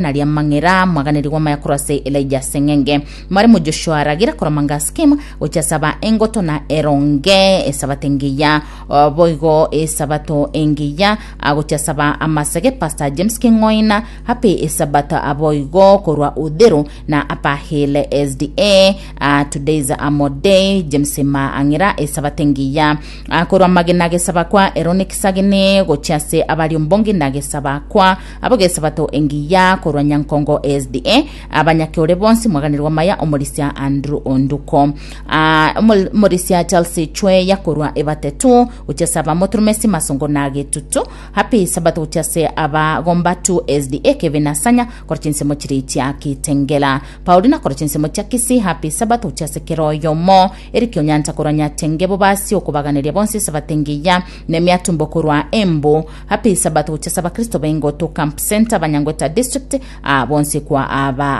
Naria amang'era mwaganeri gw'amaya korwa ase Elijah Seng'enge. Mwarimu Joshua Ragira korwa Manga Scheme gochia saba engoto na eronge esabato engiya O, boigo esabato engiya ah, gochia saba amasege Pastor James King'oina happy esabato aboigo korwa Uthiru na Upper Hill SDA ah, today's amo day James Maang'ira esabato engiya ah, korwa Magena gesaba kwa Eroni Kisagini gochia ase abari ombongi na gesaba kwa Ab'egesabato engiya korwa Nyankongo SDA, abanyakeore bonsi mwaganirwe amaya omorisia Andrew Onduko. Ah, omol- omorisia Charles Chweya korwa Ebatetu, gochia ase abamoturumesi Masongo na Getutu. Happy Sabato gochia ase abagombatu SDA Kevin Asanya korwa chinsemo chiria chia Kitengela. Paulina korwa chinsemo chia Kisii Happy Sabato gochia ase kera oyomo. Eric Onyancha korwa Nyatenge Bobasi okobaganeria bonsi esabato engiya. Nemiatumbo korwa Embu. Happy Sabbath gochia ase abakristo b'Engoto Camp Centre Banyangweta District, aa bonsi kwa aba.